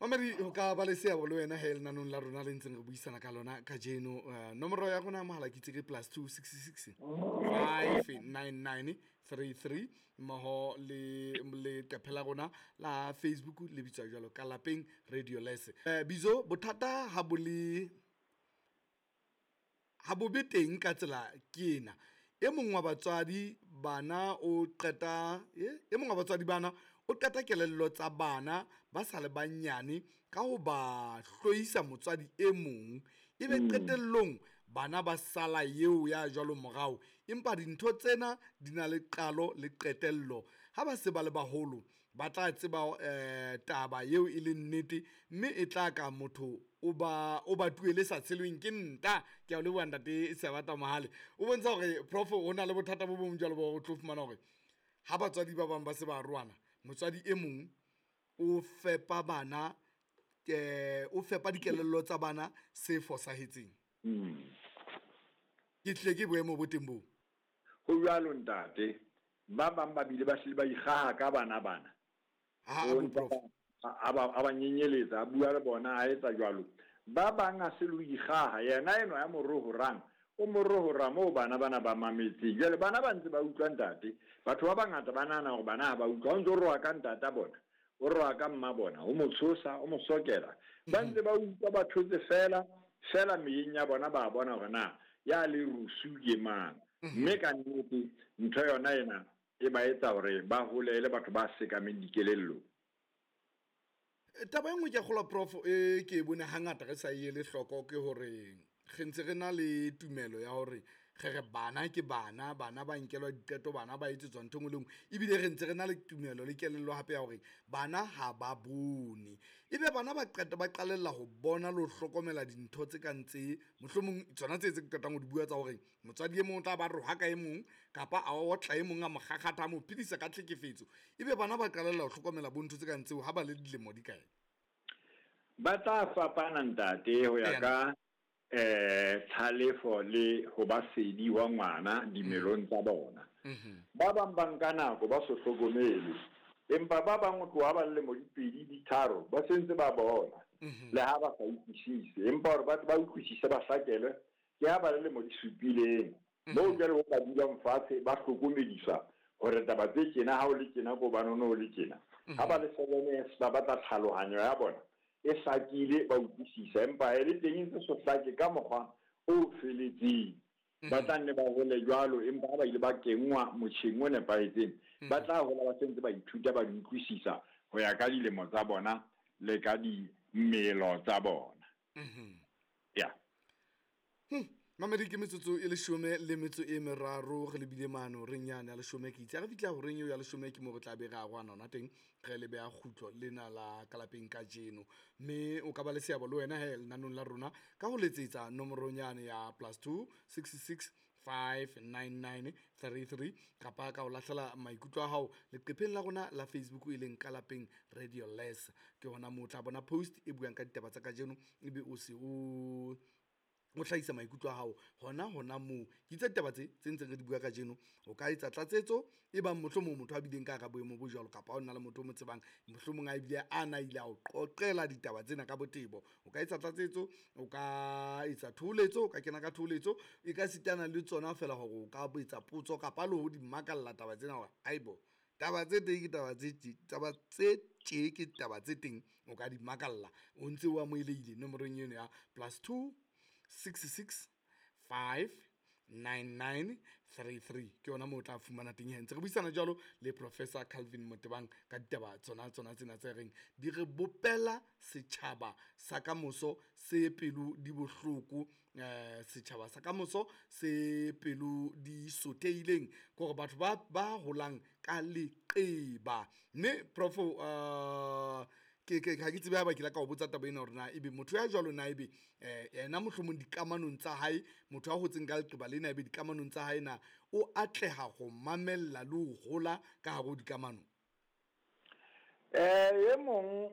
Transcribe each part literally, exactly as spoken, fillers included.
Mamedi ho ka ba le seabo le wena he lenanong la rona le ntseng re buisana ka lona kajeno. Uh, nomoro ya rona ya mohala ke itse ke plus two six six five nine nine three three mmoho le leqephe la rona la Facebook le bitswa jwalo ka Lapeng Radio Lese. Uh, bizo bothata ha bo le ha bo be teng ka tsela ke ena. E mong wa batswadi bana o qeta e, e mong wa batswadi bana o qeta kelello tsa bana ba sa le banyane ka ho ba hloisa motswadi e mong, ebe Mm. qetellong bana ba sala eo ya jwalo morao. Empa dintho tsena di na le qalo le qetello. Ha ba se ba le baholo ba tla tseba eh, taba eo e leng nnete, mme e tla ka motho o ba o ba tuele sa tshelweng ke nta. Ke a o leboha ntate Sebata Mohale. O bontsha hore prof o na le bothata bo bong jwalo bo o tlo fumana hore ha batswadi ba bang ba se ba arohana, motswadi e mong o fepa bana, eh, o fepa dikelello tsa bana se fosahetseng. Mm. Ke tlile ke boemo bo teng boo. Ho jwalo ntate, ba bang ba bile ba hlile ba ikgaha ka bana bana. Ha, O bo prof. a ba, a ba nyenyeletsa, a bua le bona, a etsa jwalo. Ba bang a se le ho ikgaha, yena enwa ya morohorang, o morohora moo bana bana ba mametseng. Jwale bana ba ntse ba utlwa ntate. Batho ba bangata ba nahana hore bana ha ba utlwa. O ntso roha ka ntata bona, o roha ka mma bona, o mo tshosa, o mo sokela. Ba ntse ba utlwa, ba thotse fela, fela meyeng ya bona ba bona hore na ya le rusu ke mang. Mme ka nnete ntho yona ena e ba etsa hore ba hole e le batho ba sekameng dikelellong. Taba e nngwe ke a kgolwa prof e ke e bone hangata re sa e ele hloko ke hore re ntse re na le tumelo ya hore re re bana ke bana, bana ba nkelwa diqeto, bana ba etsetswa ntho e nngwe le nngwe. Ebile re ntse re na le tumelo le kelello hape ya hore bana ha ba bone. Ebe bana ba qeta ba qalella ho bona le ho hlokomela dintho tse kang tse, mohlomong tsona tse tse ke qetang ho di bua tsa hore motswadi e mong o tla ba rohaka e mong kapa a otla e mong a mo kgakgatha, a mo phedisa ka tlhekefetso. Ebe bana ba qalella ho hlokomela bo ntho tse kang tseo ha ba le dilemo di kae? Ba tla fapana ntate ho ya Eya. ka eh tlhalefo le ho ba sedi wa ngwana dimelong tsa bona. Mhm. Ba bang ba nka nako ba so hlokomele, empa ba bang o tloha ba le lemo di pedi di tharo ba sentse ba bona. Mhm. Le ha ba sa utlwisise, empa hore ba ba utlwisise ba hlakelwe ke ha ba le lemo di supileng. Mhm. Moo jwale ho ka dulang fatshe ba hlokomediswa hore taba tse tjena ha o le tjena ko bana o le tjena. Ha ba le seven years ba batla tlhalohanyo ya bona e hlakile, ba utlwisisa, empa e le teng e ntse so hlake ka mokgwa o feletseng. Ba tla nne ba hole jwalo, empa ha ba ile ba kenngwa motjheng o nepahetseng, ba tla hola ba sentse ba ithuta, ba di utlwisisa ho ya ka dilemo tsa bona le ka dimelo tsa bona. Mhm. Ya. Hmm. Mamedi ke metsotso e leshome le metso e meraro re lebile mane horeng yane ya leshome ke itse. Ha re fihla horeng eo ya leshome ke moo re tla be re arohana hona teng, re le beha kgutlo lena la ka lapeng kajeno. Mme o ka ba le seabo le wena he lenanong la rona ka ho letsetsa nomorong yane ya plus two six six five nine nine three three kapa ka ho lahlela maikutlo a hao leqepheng la rona la Facebook e leng ka lapeng Radio Less. Ke hona moo o tla bona post e buang ka ditaba tsa kajeno, ebe o se o o hlahisa maikutlo a hao hona hona moo. Ke itse ditaba tse tse ntseng re di bua kajeno, o ka etsa tlatsetso e bang mohlomong motho a bileng ka hara boemo bo jwalo, kapa o na le motho o mo tsebang mohlomong a ebile a na ile a o qoqela ditaba tsena ka botebo. O ka etsa tlatsetso, o ka etsa thoholetso, o ka kena ka thoholetso, e ka sitana le tsona feela hore o ka etsa potso kapa le ho di makalla taba tsena hore aibo taba tse teng ke taba tse tje, taba tse tje ke taba tse teng, o ka di makalla. O ntse o amohelehile nomorong eno ya plus two six six five nine nine three three. Ke yona moo o tla fumana teng he. Ntse re buisana jwalo le Professor Calvin Motebang ka ditaba tsona tsona tsena tse reng di re bopela setjhaba sa kamoso se pelo di bohloko, eh, setjhaba sa kamoso se pelo di sothehileng, ke hore batho ba, ba holang ka leqeba. Mme Prof, eh, ke, ke, ha ke tsebe haeba ke la ka o botsa taba ena hore na ebe motho ya jwalo na ebe, eh, yena mohlomong dikamanong tsa hae, motho ya hotseng ka leqeba lena ebe dikamanong tsa hae na o atleha ho mamella le ho hola ka hare ho dikamano? Eh, e mong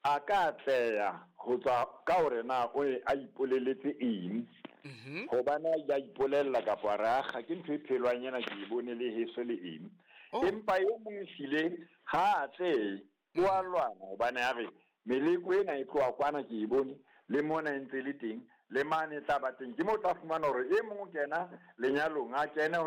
a ka atleha ho tswa ka hore na o e a ipoleletse eng. Mhm. Hobane a ile a ipolella kapa a re, akga, ke ntho e phelwang ena, ke e bone le heso le eng. Oh. Empa e mong ehlile ha a atlehe, o a lwana hobane a re Meleko ena e tloha kwana ke e bone, le mona e ntse le teng, le mane e tla ba teng. Ke mo tla fumana hore e mong o kena lenyalong, a kene